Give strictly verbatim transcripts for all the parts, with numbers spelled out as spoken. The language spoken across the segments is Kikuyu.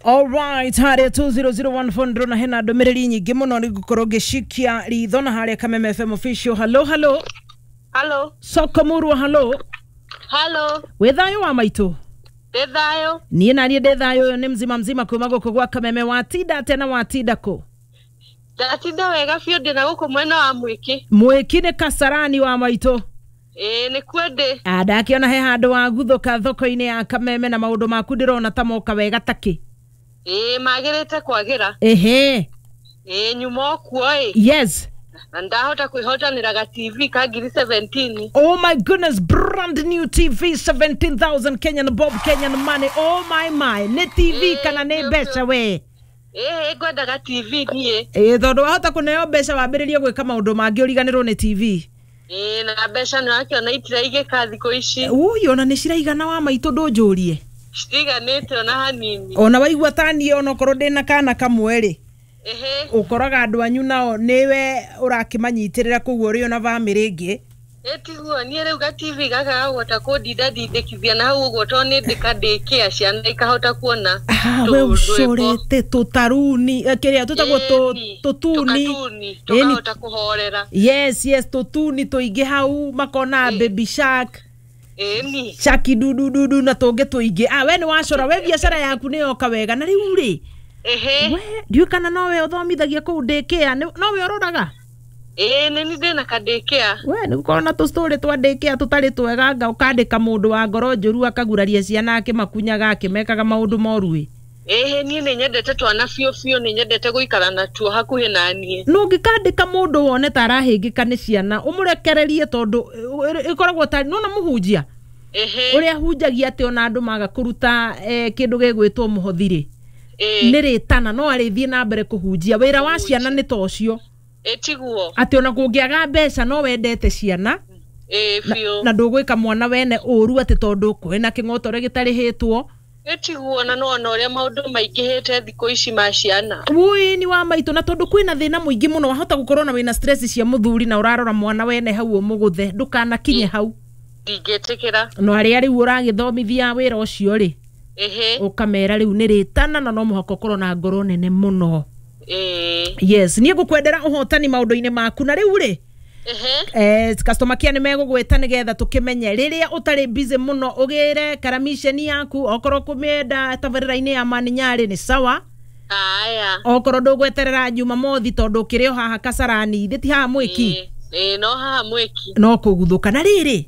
Alright, harĩa two zero zero one four ndĩrona hena ndũmĩrĩri nyingĩ mũno nĩ ngũkorwo ngĩcikia ritho na harĩa Kameme F M official. Hello, hello. Halo. Soko murwa, hello. Halo. Wĩ thayũ wa maitũ? Ndĩ thayũ. Niĩ naniĩ ndĩ thayũ. Ũyũ nĩ mzima mzima kuma gũkũ gwa Kameme. Watinda atĩa na watinda kũ? Ndatinda wega biũ, ndĩ na gũkũ mwena wa Mwĩkĩ. Mwĩki nĩ Kasarani wa maitũ? Ĩĩ, nĩkuo ndĩ. Ah, ndakĩona he handũ waguthũka thoko-inĩ ya Kameme na maũndũ maku ndĩrona ta moka wega takĩ. Ĩĩ, magĩrĩte kwagĩra. Ehe. Ĩĩ, nyuma o kuo ĩ. Yes. Na ndahota kwĩhotanĩra ga T V ka ngiri seventeen. Oh my goodness, brand new T V, seventeen thousand Kenyan bob, Kenyan money. Oh my my. Nĩ T V Ĩĩ, kana nĩ biũ mbeca biũ. we? Ĩĩ, ngwendaga T V niĩ. Ĩĩ, tondũ wahota kũneo mbeca wambĩrĩrie gwĩka maũndũ mangĩ ũriganĩrwo nĩ T V. Ĩĩ, na mbeca nĩ wakĩona itiraigĩka thikũ ici. Ui, ona nĩ ciraigana wa maitũ, ndũnjũrie. Citiganĩte ona hanini. Ona waigua ta niĩ onokorwo ndĩna kana kamwe rĩ, Ehe. ũkoraga andũ anyu nao nĩwe ũrakĩmanyitĩrĩra, koguo ũrĩ ona bamĩrĩ ĩngĩ. Ĩtiguo niĩ rĩu ga T V gaka gagũhota kũndinda ndindĩkithia na hau ũguo tondũ nĩ ndĩkandĩkĩa ciana ikahota kuona Ah, we tũ- rwĩmbo. ũcorete tũtaruni, eh, kĩrĩa tũtagwo tũ- Ĩni, tũtuni. tũkatuni Ĩni. tũkahota kũhorera. yes yes tũtuni tũingĩ hau makona Ĩ. Baby Shark. Ĩni. Shaki dudududu na tũngĩ tũingĩ. Ah, we nĩ wacora, we biacara yaku nĩ yoka wega na rĩu rĩ, Ehe. we ndiũĩ kana nowe ũthomithagia kũu ndĩkĩa, nowe ũroraga? Ĩĩ, nĩ niĩ ndĩna kandĩkĩa. We nĩ gũkorwo na tũstory twa ndĩkĩa tũtarĩ twega, nga ũkandĩka mũndũ wa ngoro njũru akaguraria ciana akĩmakunyaga akĩmekaga maũndũ moru ĩ. Ĩhĩ, niĩ nĩ nyendete twana biũ biũ, nĩ nyendete gũikara natuo hakuhĩ na niĩ. No ũngĩkandĩka mũndũ wone ta arahĩngĩka nĩ ciana, ũmũrekererie, tondũ ĩ- ĩkoragwo ta nona mũhunjia Ehe. ũrĩa hunjagia atĩ ona andũ maga kũruta eh, kĩndũ gĩgwĩtwo mũhothi rĩ, Ĩĩ. nĩ rĩtana no arĩthiĩ na mbere kũhunjia. Wĩra wa ciana nĩ ta ũcio. Ĩtiguo. Atĩ ona kũngĩaga mbeca no wendete ciana Ĩĩ, biũ. na ndũgwĩka mwana wene ũru atĩ tondũ kwĩna kĩng'otore gĩtarĩhĩtwo. Ĩtiguo, na nĩwona ũrĩa maũndũ maingĩhĩte thikũ ici ma ciana. Wũi, ni wa maitũ, na tondũ kwĩna thĩna mũingĩ mũno, wahota gũkorwo na wĩna stress cia mũthuri na ũrarora mwana wene hau ũmũgũthe. Ndũkanakinye hau. Ndingĩtĩkĩra. No arĩa rĩu ũragĩthomithia wĩra ũcio rĩ, Ĩhĩ. ũkamera rĩu nĩ rĩtana na no mũhaka ũkorwo na ngoro nene mũno. Ĩĩ. Yes, niĩ ngũkwendera ũhotani maũndũ-inĩ maku na rĩu rĩ, Ehe. eh, customer care nĩ megũgwĩta nĩgetha tũkĩmenye rĩrĩa ũtarĩ busy mũno ũgĩre karamiceni yaku. Okorwo kũmĩenda tabarĩra-inĩ ya Maninyarĩ nĩ sawa. Aya. Okorwo ndũgweterera Jumamothi, tondũ ũkĩrĩ o haha Kasarani thĩ, ti haha Mwĩki? Ĩĩ, ĩĩ, no haha Mwĩki. No kũguthũka na rĩrĩ,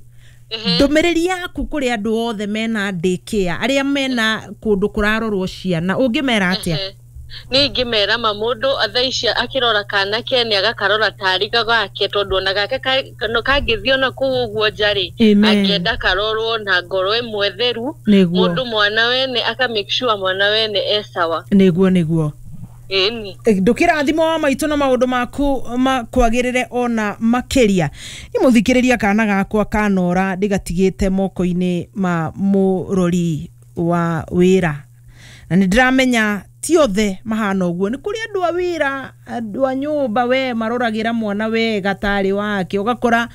Ehe. ndũmĩrĩri yaku kũrĩ andũ othe mena ndĩkĩa, arĩa mena kũndũ kũrarorwo ciana, ũngĩmera atĩa? Ehe. Niĩ ingĩmera ma mũndũ thaa ici akĩrora kana kene agakarora tarĩ gake, tondũ ona gake ka- no kangĩthiĩ ona kũu ũguo nja rĩ, Amen. angĩenda karorwo na ngoro ĩmwe theru. Nĩguo. Mũndũ mwana wene aka make sure mwana wene e sawa. nĩguo nĩguo Ĩni. Ndũkĩrathimo wa maitũ na maũndũ maku makwagĩrĩre ona makĩria. Nĩ mũthikĩrĩria, kana gakwa kanora ndĩgatigĩte moko-inĩ ma mũrori wa wĩra, na nĩ ndĩramenya ti othe mahana ũguo. Nĩ kũrĩ andũ a wĩra, andũ a nyũmba, we maroragĩra mwana wega tarĩ wake, ũgakora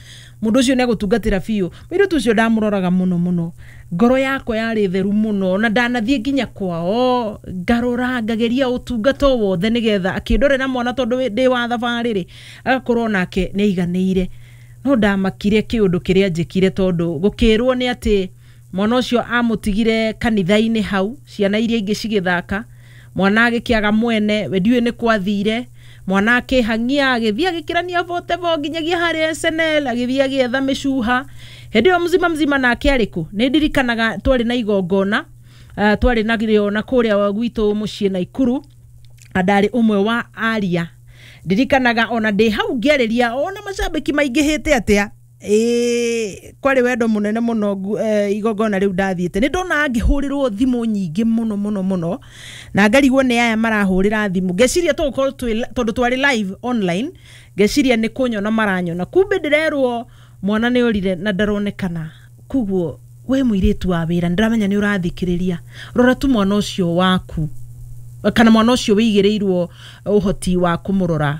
mũndũ ũcio nĩ egũtungatĩra biũ. Mũirĩtu ũcio ndamũroraga mũno mũno, ngoro yakwa yarĩ theru mũno, na ndanathiĩ nginya kwao ngarora ngageria ũtungata o wothe nĩgetha akĩndorera mwana, tondũ wĩ- ndĩ wa thabarĩ rĩ, agakorwo nake nĩ aiganĩire. No ndamakire kĩũndũ kĩrĩa njĩkire, tondũ gũkĩrwo nĩ atĩ mwana ũcio amũtigire kanitha-inĩ hau ciana iria ingĩ cigĩthaka, mwana agĩkĩaga mwene. We ndiũĩ nĩ kwathire, mwana akĩhang'ia agĩthiĩ agĩkĩrania botebo nginyagia harĩa S N L, agĩthiĩ agĩetha mĩcuha. Hĩndĩ ĩyo mzima mzima nake arĩ kũ? Nĩ ndirikanaga twarĩ na igongona, uh, twarĩ narĩo na kũrĩa gwitũ mũciĩ Naikuru, na ndarĩ ũmwe wa aria. Ndirikanaga ona ndĩ hau ngĩarĩria ona macambĩki maingĩhĩte atĩa. Ĩĩ, kwarĩ wendo mũnene mũno. ngu- eh, igongona rĩu ndathiĩte, nĩ ndona ngĩhũrĩrwo thimũ nyingĩ mũno mũno mũno, na ngarigwo nĩ aya marahũrĩra thimũ. Ngeciria tũgũkorwo twĩ tondũ twarĩ live online, ngeciria nĩ kũnyona maranyona, kumbe ndĩrerwo mwana nĩ orire na ndaronekana. Koguo we mũirĩtu wa wĩra, nĩ ndĩramenya nĩ ũrathikĩrĩria, rora tu mwana ũcio waku kana mwana ũcio wĩigĩrĩirwo ũhoti wa kũmũrora.